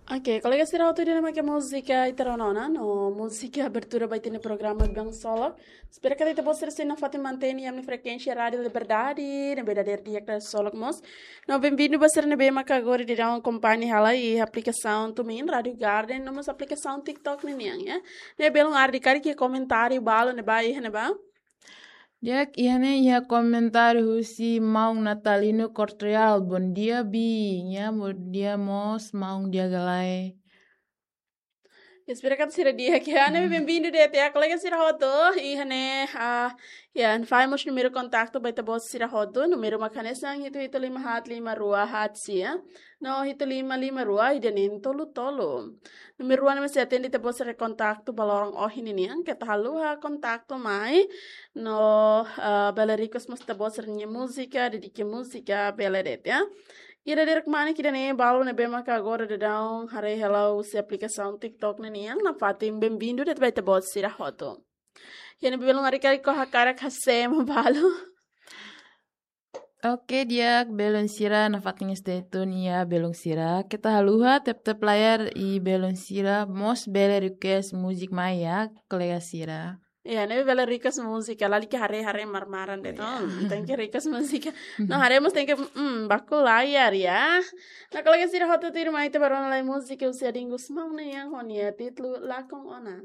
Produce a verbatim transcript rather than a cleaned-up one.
Oke, kolega sira hotu, ida-ne'e mak múzika ita rona ona, no múzika abertura ba ita-nia programa Biban Ksolok. Espera katak ita-boot sira sei nafatin mantein iha ami-nia frekuénsia Rádio Liberdade, ne'ebé dadeer di'ak iha Ksolok mós. No benvindu ba sira ne'ebé maka agora daudaun akompaña hela iha aplikasaun TuneIn, Rádio Garden, no mós aplikasaun TikTok ninian, ya. Ne'e belun, ha'u hakarak komentáriu balu ne'ebá iha ne'ebá. Di'ak, iha ne'e iha komentáriu husi maun Natalino Cortrial. Bom dia, Bi. Ya, bom dia mós, maun di'ak ka lae. Espera katak sira di'ak, ya. Ne'e benvindu de'it, ya, kolega sira hotu. Iha ne'e, ah, ya, fahe mós númeru kontaktu ba ita-boot sira hotu. Númeru mak hanesan hitu hitu lima haat lima rua haat sia, no hitu lima lima rua ida neen tolu tolu. Númeru rua ne'e mak sei atende ita-boot sira kontaktu ba loron ohin ninian. Keta haluha kontaktu mai. No, ah, bele request mós ita-boot sira-nia múzika, dedika múzika, bele de'it, ya. Ida-idak mane ida-ne'e, balu ne'ebé maka agora daudaun haree hela husi aplikasaun TikTok ninian, nafatin benvindu de'it ba ita-boot sira hotu. Ya, ne'e belun, ha'u hakarak, ha'u hakarak hase'e ema balu. Oke, di'ak, belun sira, nafatin stay tune, ya, belun sira. Keta haluha tap-tap layar, i belun sira mós bele request múzika mai, ya, kolega sira. Ya, ne'ebé bele request múzika, lalika haree-haree mar-maran de'it, ya, no. Tenke request múzika. No haree mós tenke, mm, baku layar, ya. No kolega sira hotu, tuirmai ita bá rona lai múzika husi Adin Gusmão nian, ho nia títulu Lakon Ona.